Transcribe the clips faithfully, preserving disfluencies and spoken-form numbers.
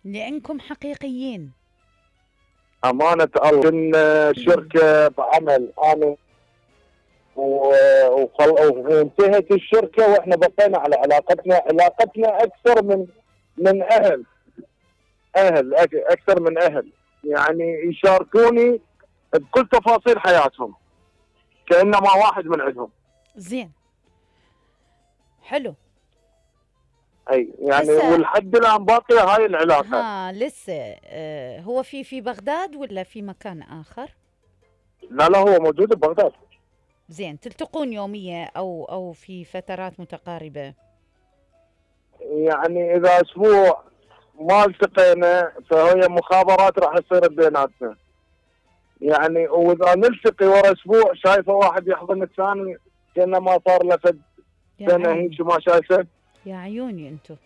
لأنكم حقيقيين. أمانة الله كنا شركة بعمل أنا وانتهت الشركة وإحنا بقينا على علاقتنا علاقتنا أكثر من من أهل أهل أكثر من أهل، يعني يشاركوني بكل تفاصيل حياتهم كأنما واحد من عندهم. زين، حلو. اي يعني ولحد الان باقيه هاي العلاقه. ها لسه آه هو في في بغداد ولا في مكان اخر؟ لا لا هو موجود ببغداد. زين، تلتقون يوميا او او في فترات متقاربه؟ يعني اذا اسبوع ما التقينا فهي مخابرات راح تصير بيناتنا، يعني واذا نلتقي ورا اسبوع شايفه واحد يحضن الثاني كانه ما صار له فد سنه هيك ما شايفه. يا عيوني انتم.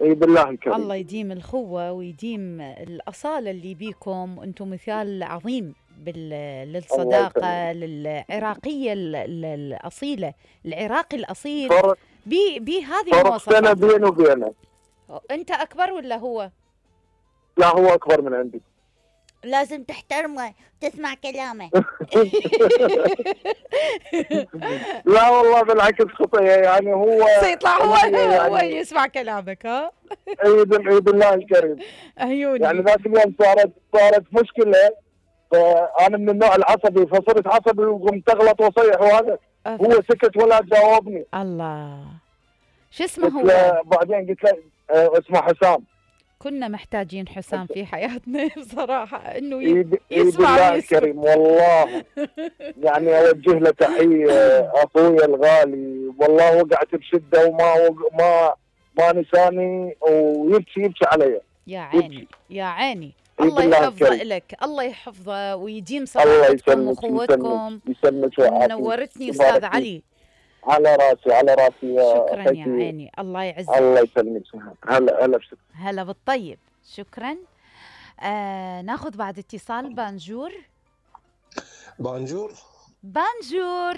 اي بالله الكريم. الله يديم الخوه ويديم الاصاله اللي بيكم، وانتم مثال عظيم بال... للصداقه للعراقيه الاصيله، العراقي الاصيل بهذه المواصفات. فرق سنه بيني وبينه. انت اكبر ولا هو؟ لا هو اكبر من عندي. لازم تحترمه تسمع كلامه. لا والله بالعكس خطيه، يعني هو سيطلع هو يعني هو يسمع كلامك. ها اي بالله الكريم. عيوني. يعني ذاك اليوم صارت صارت مشكله، فانا من النوع العصبي فصرت عصبي وقمت اغلط واصيح وهذا هو سكت ولا جاوبني. الله، شو اسمه هو؟ بعدين قلت له اه اسمه حسام. كنا محتاجين حسام في حياتنا بصراحة، انه يسمع بالله الكريم والله. يعني اوجه له تحية اخويا الغالي، والله وقعت بشدة وما ما ما نساني ويبكي يبكي علي. يا عيني يا عيني. الله يحفظه لك، الله يحفظه ويديم صداقتكم واخوتكم. نورتني استاذ علي. على راسي على راسي يا شكرا يا عيني، الله يعزك. الله يسلمك. هلا هلا بشكرا. هلا بالطيب، شكرا. آه ناخذ بعد اتصال. بانجور. بانجور بانجور.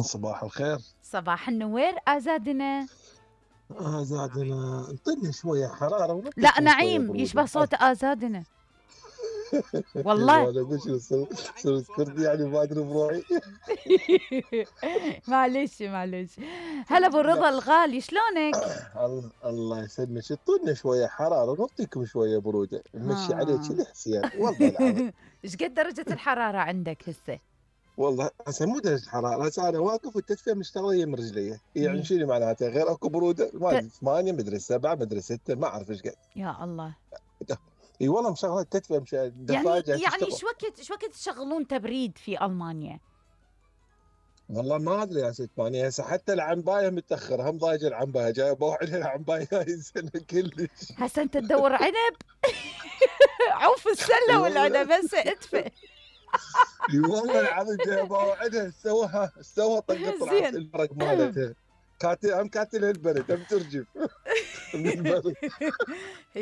صباح الخير. صباح النوير. ازادنا ازادنا انطيني شويه حراره. لا نعيم يشبه صوت ازادنا. والله انا قلت كردي يعني ما ادري بروحي. معلش معلش. هلا ابو رضا الغالي، شلونك؟ الله الله يسلمك. اعطونا شويه حراره نعطيكم شويه بروده نمشي عليك الحسين والله العظيم. ايش قد درجه الحراره عندك هسه؟ والله هسه مو درجه حراره، هسه انا واقف والتدفئه مشتغله من رجلي، يعني شنو معناته غير اكو بروده؟ ما ادري ثمانية مدري سبعة مدري ستة ما اعرف ايش قد. يا الله. اي والله مشغله التدفئه مش يعني يعني ايش وقت ايش وقت تشغلون تبريد في المانيا؟ والله ما ادري يا ست ماني. هسه حتى العنبايه متاخره، هم ضايجه العنبايه جايه بوعدها العنبايه هاي السنه كلش. هسه انت تدور عنب؟ عوف السله والعنب هسه ادفئ. اي والله العظيم جايه بوعدها سوها سوها طقت راس البرق مالتها. كاتل هم كاتل البرد هم ترجف.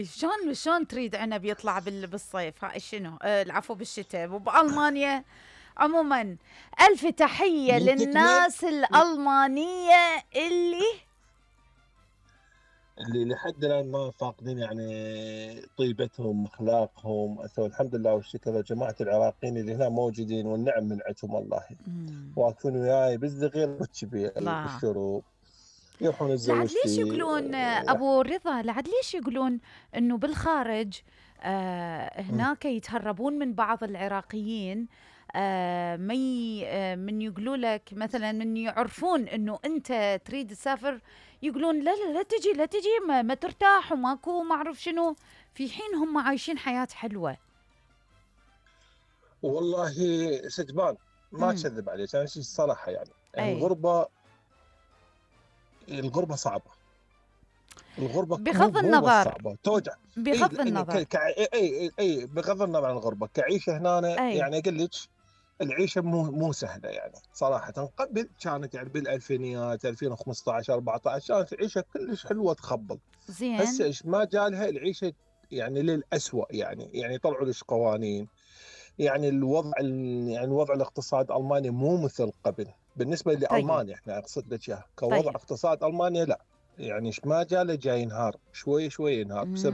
شلون شلون تريد عنب يطلع بالصيف؟ ها شنو آه العفو بالشتاء وبألمانيا. عموما ألف تحية للناس الألمانية اللي اللي لحد الآن ما فاقدين يعني طيبتهم أخلاقهم. الحمد لله والشكر لجماعة العراقيين اللي هنا موجودين والنعم من عندهم والله. واقفون وياي بالصغير والكبير بالشروق يروحون الزوج. ليش يقولون ابو رضا لعد ليش يقولون انه بالخارج آه هناك يتهربون من بعض العراقيين آه مي آه من يقولوا لك مثلا من يعرفون انه انت تريد تسافر يقولون لا لا لا تجي لا تجي ما, ما ترتاح وماكو ما اعرف شنو، في حين هم عايشين حياة حلوة. والله ستبان ما اكذب عليك انا شيء الصراحة يعني أي. الغربة الغربة صعبة. الغربة بغض النظر صعبة توجع بغض أي النظر ك... اي اي اي بغض النظر عن الغربة كعيشة هنا أي. يعني اقول لك العيشة مو مو سهلة يعني صراحة. قبل كانت يعني بالالفينيات ألفين وخمسطعش أربعطعش كانت العيشة كلش حلوة تخبل. زين. هسه ايش ما جالها العيشة يعني للأسوأ يعني يعني طلعوا لش قوانين يعني الوضع يعني الوضع الاقتصاد المانيا مو مثل قبل بالنسبه لالمانيا. طيب. احنا اقصد لك اياها كوضع طيب. اقتصاد المانيا لا يعني ايش ما جاله جاي ينهار شوي شوي ينهار بسبب